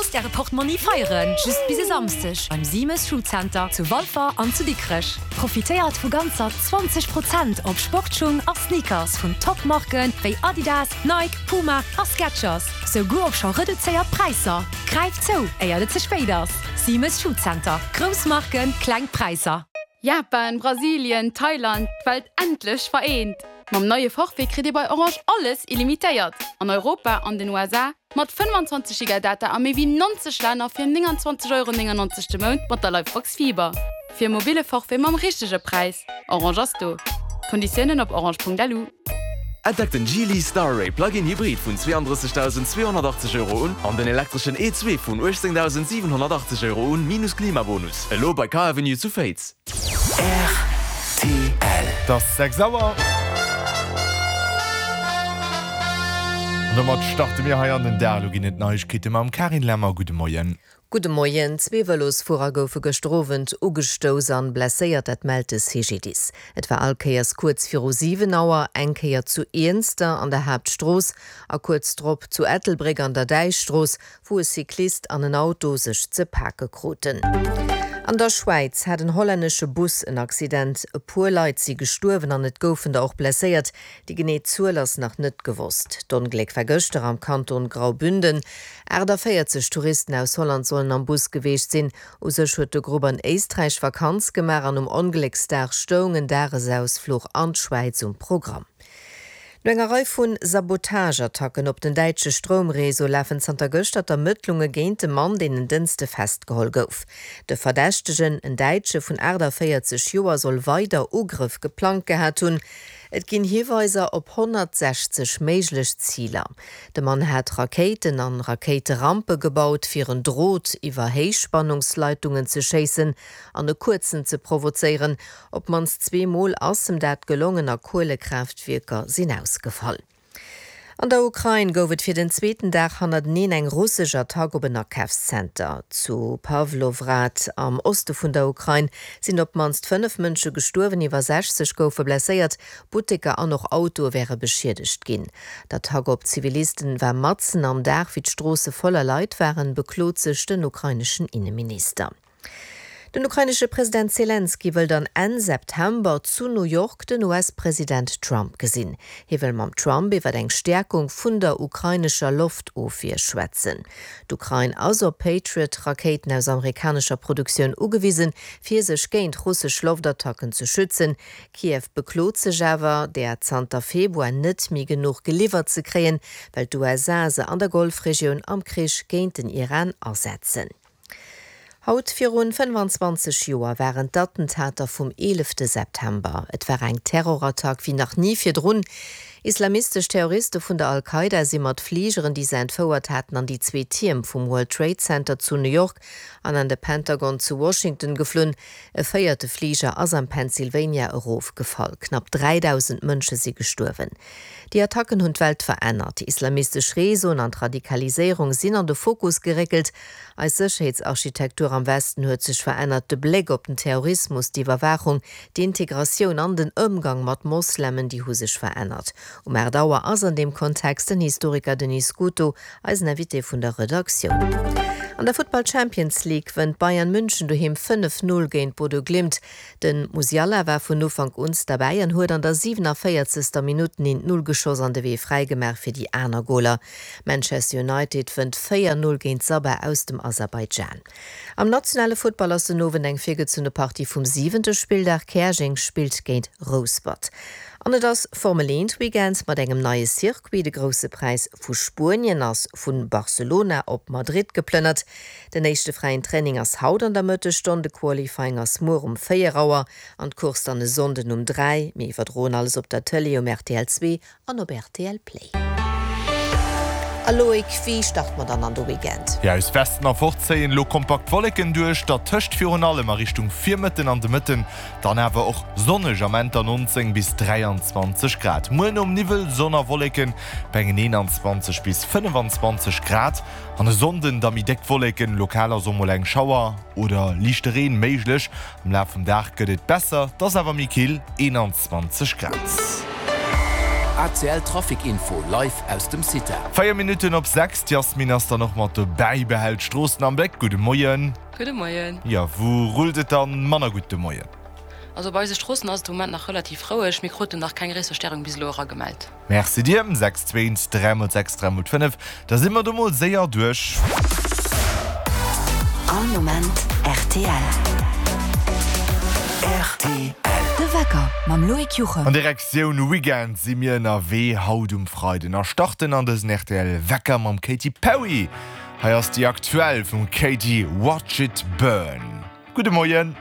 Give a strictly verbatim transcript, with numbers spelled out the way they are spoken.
Musst Äre Portmonni feieren, just bis e Samschdeg beim Siemes Schuhcenter zu Walfer an zu Dikrech. Profitéiert vu ganzer zwanzeg Prozent op Sportschung a Sneakers vun Top-Marken wéi Adidas, Nike, Puma a Skechers, souguer op scho reduzéiert Präisser. Gräift zou, éier et ze spéit ass! Siemes Schuhcenter, grouss Marken, kleng Präisser. Japan, Brasilien, Thailand, d'Welt endlech vereent! Mam neie Forfait kritt Dir bei Orange alles illimitéiert an Europa an den U S A mat fënnfanzwanzeg Giga Data a méi wéi neunzeg Länner fir nénganzwanzeg Euro néngennonzeg de Mount mat der Livebox Fiber. Fir e mobile Forfait mam richtege Präis. Orange ass do. Konditiounen op orange Punkt L U. Entdeckt den Geely Starray Plug-in Hybrid vun zweeandrëssegdausend zweehonnertachtzeg Euro un an den elektreschen E zwee vun uechtzéngdausend siwenhonnertachtzeg Euro un, minus Klimabonus. Elo bei Car Avenue zu Féiz. R T L. Et ass sechs Auer. An domat starte mir hei an den Dag. Elo ginn et Neiegkeete mam Karin Lemmer. Gudde Moien. Gudde Moien. Zwee Vëlosfuerer goufe gëschter Owend ugestouss an blesséiert, dat mellt de C G D I S. Et war all Kéiers kuerz viru siwen Auer, eng Kéier zu Iernster an der Haaptstrooss a kuerz drop zu Ettelbréck an der Däichstrooss, wou e Cyclist an en Auto sech ze pake kruten. An der Schwäiz hat en hollännesche Bus en Accident. E puer Leit si gestuerwen an et goufen der och blesséiert. Déi genee Zuel ass nach net gewosst. D'Ongléck war gëschter am Kanton Graubünden. achtundvéierzeg Touristen aus Holland sollen am Bus gewiescht sinn. U sech huet de Grupp an Éisträich Vakanz gemaach an um Onglécksdag stoung en Dagesausfluch an d'Schwäiz um Programm. No enger Rei vu Sabotageattacken op den däitsche Stroumreseau lafen zanter gëschter d'Ermëttlunge géint e Mann, deen en Dënschde festgeholl gouf. De Verdächtegen, en Däitsche vun achtundvéierzeg Joer, soll weider Ugrëff geplangt gehat hunn. Et ginn Hiweiser op honnertsechzeg méiglech Ziler. De Mann hat Rakéiten an Rakéiterampe gebaut, fir en Drot iwwer Héichspannungsleitungen ze schéissen an e Kuerzen ze provozéieren. Op d'mannst zwee Mol ass em dat gelongen a Kuelekraaftwierker sinn ausgefall. An der Ukrain gouf et fir den zweeten Dag hannerteneen eng russesch Attack op en Akafszenter. Zu Pawlohrad am Oste vun der Ukrain sinn op d'mannst fënnef Mënsche gestuerwen, iwwer sechzeg goufe blesséiert, Butteker an och Autoe wäre beschiedegt ginn. D'Attack op Zivilisten war matzen am Dag, wéi d'Stroosse voller Leit waren, beklot sech den ukraineschen Inneminister. Den ukrainesche President Selenskyj wëll dann Enn September zu New York den U S-President Trump gesinn. Hie wëll mam Trump iwwer eng Stäerkung vun der ukrainescher Loftofwier schwätzen. D'Ukrain ass op Patriot-Rakéiten aus amerikanescher Produktioun ugewisen, fir sech géint russesch Loftattacken ze schützen. Kiew beklot sech awer, der zanter Februar net méi genuch geliwwert ze kréien, well d'U S A se an der Golfregioun am Krich géint den Iran asetzen. Haut virun fënnefanzwanzeg Joer waren d'Attentater vum eelefte September. Et war eng Terrorattack wéi nach ni virdrun. Islamistesch Terroriste vun der Al-Qaida si mat Fligeren, déi se entfouert haten, an déi zwee Tierm vum World Trade Center zu New York an an de Pentagon zu Washington geflunn. E véierte Fliger ass am Pennsylvania erofgefall. Knapp dräidausend Mënsche si gestuerwen. Déi Attacken hunn d'Welt verännert. Islamistesch Reseauen an d'Radikaliséierung sinn an de Fokus geréckelt. Eis Sécherheetsarchitektur am Westen huet sech verännert. De Bléck op den Terrorismus, d'Iwwerwaachung, d'Integratioun an den Ëmgang mat Moslemen, déi hu sech verännert. Um aacht Auer ass an deem Kontext den Historiker Denis Scuto eisen Invité vun der Redaktioun. An der Futtball Champions League wënnt Bayern München doheem fënnef Null géint Bodo Glimt. De Musiala war vun Ufank un derbäi an huet an der siewenundvéierzegster Minutt den Null geschoss an de Wee fräigemaach fir déi aner Goler. Manchester United wënnt véier Null géint Sabah aus dem Aserbaidschan. Am nationale Futtball ass den Owend eng virgezunne Partie vum siwente Spilldag. Käerjeng spillt géint Rouspert. An et ass Formel eent Weekend mat engem neie Circuit. De Grousse Präis vu Spuenien ass vu Barcelona op Madrid geplënnert. Den éischte fräien Training ass haut an der Mëttesstonn, de Qualifying ass muer um véier Auer an d'Course dann e Sonnden um dräi. Mir iwwerdroen alles op der Tëlee um R T L zwee an op R T L Play. A Loïc, wéi start mer dann an de Weekend? Ja, aus Westen erfort zéien lo kompakt Wolleken duerch, dertëscht virun allem a Richtung Virmëtten an de Mëtten dann awer och sonneg am Enn neunzéng bis dräianzwanzeg Grad. Muer nom Niwwel Sonn a Wolleken bei engen eenanzwanzeg bis fënnefanzwanzeg Grad an e Sonnden da méi déck Wolleken, lokal ass och mol eng Schauer oder liichte Reen méiglech. Am Laf vum Dag gëtt et besser, et ass awer méi kill, eenanzwanzeg Grad. A C L Trafic Info live aus dem CITA. Véier Minutten op sechs, d'Yasmin ass dann och mat dobäi, behält d'Stroossen am Bléck. Gudde Moien. Gudde Moien. Jo, wou rullt et dann manner gutt de Moien? Also bei eise Stroossen ass et de Moment nach relativ roueg. Mir kruten nach keng gréisser Störung bis elo eragemellt. Merci dir. Sechs zwee eent dräi mol sechs dräi mol fënnef, da si mer do mol séier duerch. All Moment rtl. Rtl. De Wecker mam Loïc Juchem. An Direktioun Weekend si mir ënnerwee haut um Freiden a starten an dësen rtl Wecker mam Katy Perry. Hei ass déi aktuell vum Katy, Watch It Burn. Gudde Moien.